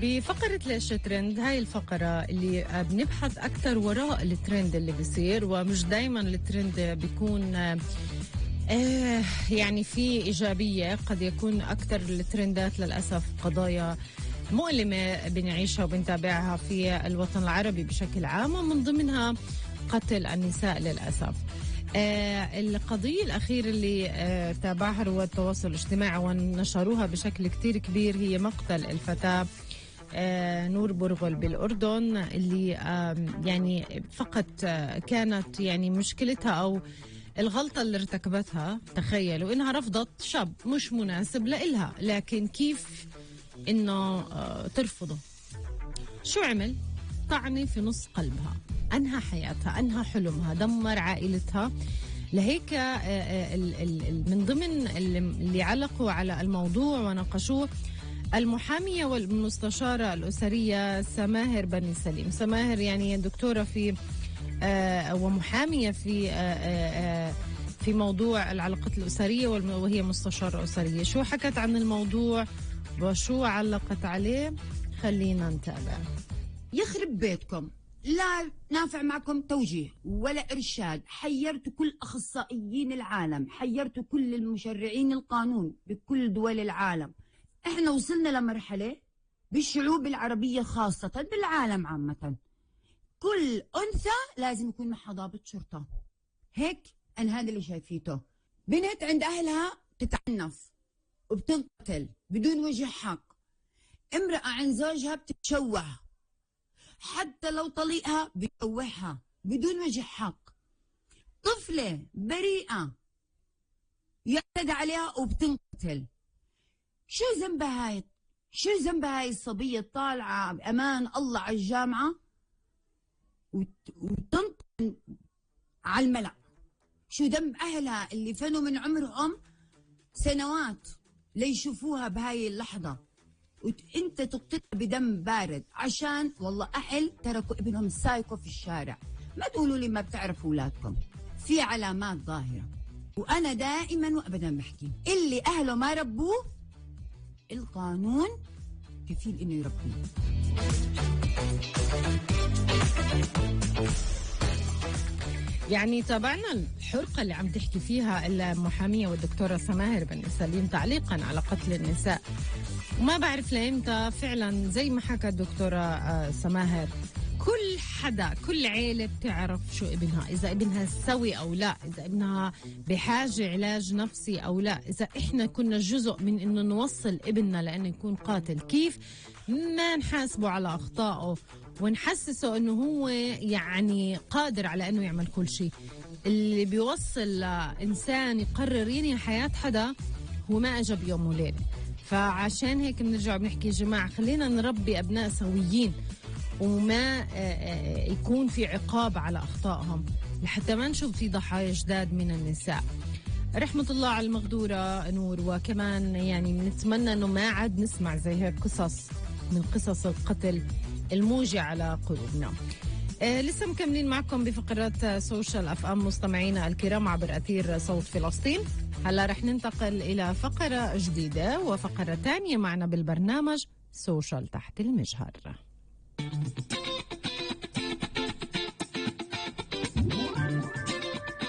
بفقرة ليش ترند، هاي الفقرة اللي بنبحث أكتر وراء الترند اللي بيصير، ومش دايما الترند بيكون يعني في إيجابية. قد يكون أكتر الترندات للأسف قضايا مؤلمة بنعيشها وبنتابعها في الوطن العربي بشكل عام، ومن ضمنها قتل النساء للأسف. القضية الأخيرة اللي تابعها رواد التواصل الاجتماعي ونشروها بشكل كتير كبير هي مقتل الفتاة نور برغل بالأردن، اللي يعني فقط كانت يعني مشكلتها أو الغلطة اللي ارتكبتها، تخيلوا إنها رفضت شاب مش مناسب لإلها، لكن كيف إنه ترفضه؟ شو عمل؟ طعني في نص قلبها، أنهى حياتها، أنهى حلمها، دمر عائلتها. لهيك من ضمن اللي علقوا على الموضوع وناقشوه المحامية والمستشارة الأسرية سماهر بني سليم. سماهر يعني دكتورة في ومحامية في موضوع العلاقات الأسرية، وهي مستشارة أسرية. شو حكت عن الموضوع وشو علقت عليه؟ خلينا نتابع. يخرب بيتكم، لا نافع معكم توجيه ولا إرشاد. حيرتوا كل أخصائيين العالم، حيرتوا كل المشرعين القانون بكل دول العالم. احنا وصلنا لمرحلة بالشعوب العربية خاصة، بالعالم عامة، كل أنثى لازم يكون معها ضابط شرطة. هيك أنا هذا اللي شايفيته. بنت عند أهلها تتعنف وبتنقتل بدون وجه حق، امرأة عند زوجها بتتشوه، حتى لو طليقها بيشوهها بدون وجه حق، طفلة بريئة يعتدى عليها وبتنقتل. شو ذنبها هاي؟ شو ذنبها هاي الصبية طالعة بأمان الله على الجامعة وتنطن على الملأ؟ شو ذنب أهلها اللي فنوا من عمرهم سنوات ليشوفوها بهاي اللحظة، وانت تقتلها بدم بارد عشان والله أهل تركوا ابنهم سايكو في الشارع؟ ما تقولوا لي ما بتعرفوا أولادكم، في علامات ظاهرة. وأنا دائما وأبدا بحكي اللي أهله ما ربوه القانون كفيل إنه يربيه. يعني تابعنا الحرقة اللي عم تحكي فيها المحامية والدكتورة سماهر بن سليم تعليقا على قتل النساء. وما بعرف لإمتى فعلا زي ما حكى الدكتورة سماهر، كل حدا كل عيلة بتعرف شو ابنها، إذا ابنها سوي أو لا، إذا ابنها بحاجة علاج نفسي أو لا، إذا إحنا كنا جزء من إنه نوصل ابننا لأنه يكون قاتل، كيف ما نحاسبه على أخطائه ونحسسه إنه هو يعني قادر على إنه يعمل كل شيء. اللي بيوصل لإنسان يقرر ينهي حياة حدا هو ما أجى بيوم وليلة. فعشان هيك بنرجع بنحكي يا جماعة خلينا نربي أبناء سويين وما يكون في عقاب على أخطائهم، لحتى ما نشوف في ضحايا جداد من النساء. رحمة الله على المغدورة نور. وكمان يعني نتمنى أنه ما عاد نسمع زي هيك قصص من قصص القتل الموجع على قلوبنا. لسه مكملين معكم بفقرات سوشيال أف أم مستمعينا الكرام عبر أثير صوت فلسطين. هلا رح ننتقل إلى فقرة جديدة وفقرة تانية معنا بالبرنامج سوشيال تحت المجهر.